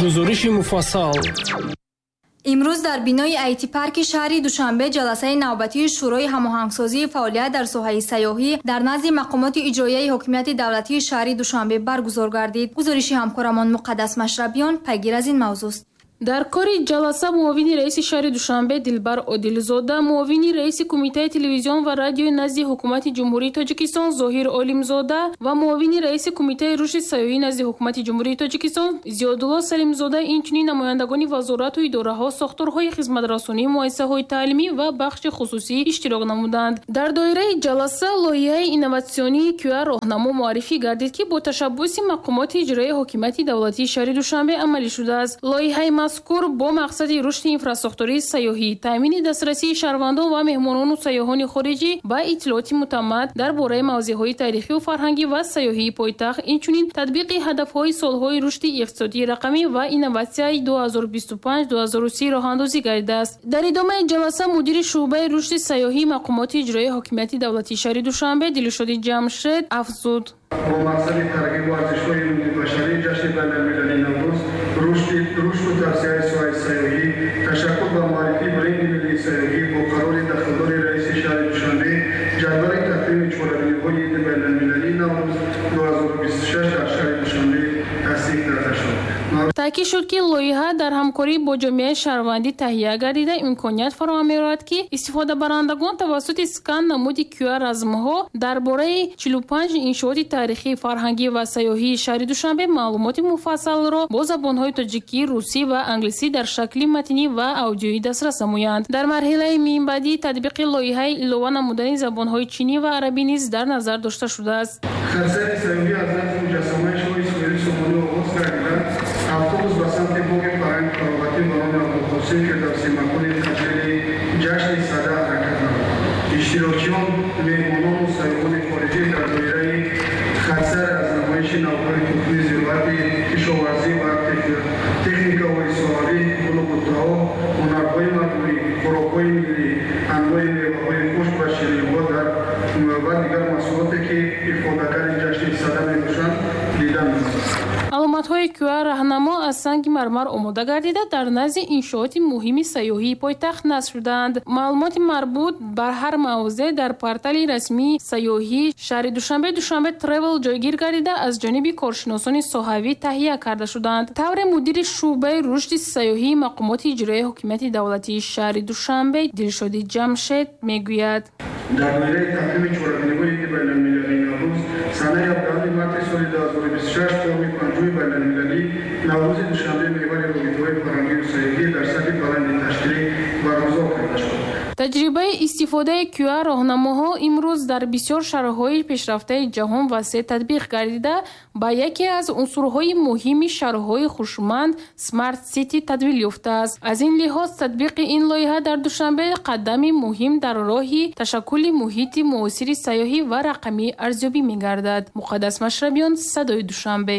Гузориши муфассал. Имрӯз дар бинои айти-парки шаҳри Душанбе ҷаласаи навбатии Шӯрои ҳамоҳангсозии фаъолият дар соҳаи сайёҳӣ дар назди мақомоти иҷроияи ҳокимияти давлатии шаҳри Душанбе баргузор гардид. Гузориши ҳамкорамон Муқаддас Машрабиён пайгир аз ин мавзӯст. Дар кори ҷаласа муовини раиси шаҳри Душанбе Дилбар Одилзода, муовини раиси Кумитаи телевизион ва радиои назди Ҳукумати Ҷумҳурии Тоҷикистон Зоҳир Олимзода ва муовини раиси Кумитаи рушди сайёҳӣ назди Ҳукумати Ҷумҳурии Тоҷикистон Зиёдулло Салимзода, инчунин намояндагони вазорату идораҳо, сохторҳои хизматрасонӣ, муассисаҳои таълимӣ ва бахши хусусӣ иштирок намуданд. Дар доираи ҷаласа лоиҳаи инноватсионии QR роҳнамо муаррифӣ гардид, ки бо ташаббуси мақомоти иҷроияи ҳокимияти давлатии шаҳри Душанбе амалӣ шудааст. Лоиҳаи мазкур бо мақсади рушди инфрасохтории сайёҳӣ, таъмини дастрасии шаҳрвандон ва меҳмонону сайёҳони хориҷӣ ба иттилооти мутамад дар бораи мавзеъҳои таърихию фарҳангӣ ва сайёҳии пойтахт, инчунин татбиқи ҳадафҳои солҳои рушди иқтисодии рақамӣ ва инноватсияи 2025-2030 роҳандозӣ гардидааст. Дар идомаи ҷаласа мудири шӯъбаи рушди сайёҳии мақомоти иҷроияи ҳокимияти давлатии шаҳри Душанбе Дилшоди Ҷамшед афзуд: Бо мақсади тарғибу арзишҳои умумибашарии ҷашни байналмилалии Наврӯз, рушду тавсеаи соҳаи сайёҳӣ, ташаккул ва муаррифии бренди миллии сайёҳӣ бо қарори дахлдори раиси шаҳри Душанбе ҷадвали тақвими чорабиниҳои иди байналмилалии Наврӯз 2026 дар шаҳри Душанбе тасдиқ карда шуд. Таъкид шуд, ки лоиҳа дар ҳамкорӣ бо ҷомеаи шаҳрвандӣ таҳия гардида, имконият фароҳам меорад, ки истифодабарандагон тавассути скан намуди QR размҳо дар бораи 45 иншооти таърихӣ, фарҳангӣ ва сайёҳии шаҳри Душанбе маълумоти муфассалро бо забонҳои тоҷикӣ, русӣ ва англисӣ дар шакли матнӣ ва аудиоӣ дастрас намоянд. Дар марҳилаи минбаъдӣ татбиқи лоиҳаи илова намудани забонҳои чинӣ ва арабӣ низ дар назар дошта шудааст. Хатсайри сайёҳӣ аз назди муҷассамаи шоҳи Исмоили Сомонӣ оғоз гардида, автобус ба самти боғи фарҳанги фароғатӣ ба номи Абдулқосим Фирдавсӣ, макони таҷлили ҷашни Сада, ҳаракат намуд. Иштирокчиён, меҳмонону сайёҳони хориҷӣ дар доираи хатсайр аз намоиши навъҳои тухми зироати кишоварзӣ ва техникаҳои соҳавӣ, гулу буттаҳо, ҳунарҳои мардумӣ, хӯрокҳои миллӣ, анвои меваҳои хушк ва ширинҳо ва дигар маҳсулоте, ки ифодагари ҷашни Сада мебошанд, дида мешаванд. Аломатҳои QR раҳнамо аз санги мармар омода гардида, дар назди иншооти муҳими сайёҳии пойтахт насб шудаанд. Маълумоти марбут бар ҳар мавзеъ дар портали расмии сайёҳии шаҳри Душанбе, Душанбе Тревел, ҷойгир гардида, аз ҷониби коршиносони соҳавӣ таҳия карда шудаанд. Тавре мудири шӯъбаи рушди сайёҳии мақомоти иҷроияи ҳокимияти давлатии шаҳри Душанбе Дилшоди Ҷамшед мегӯяд: Дар доираи тақвими чорабиниҳои иди байналмилалии Наврӯз санаи 17 марти соли 2026 форуми панҷуми байналмилалии Наврӯзи Душанбе меҳвари робитаҳои фарҳангию сайёҳӣ дар сатҳи баланди ташкилӣ баргузор карда шуд. Таҷрибаи истифодаи QR роҳнамоҳо имрӯз дар бисёр шаҳрҳои пешрафтаи ҷаҳон васеъ татбиқ гардида, ба яке аз унсурҳои муҳими шаҳрҳои хушманд, Smart City, табдил ёфтааст. Аз ин лиҳоз татбиқи ин лоиҳа дар Душанбе қадами муҳим дар роҳи ташаккули муҳити муосири сайёҳӣ ва рақамӣ арзёбӣ мегардад. Муқаддас Машрабиён, Садои Душанбе.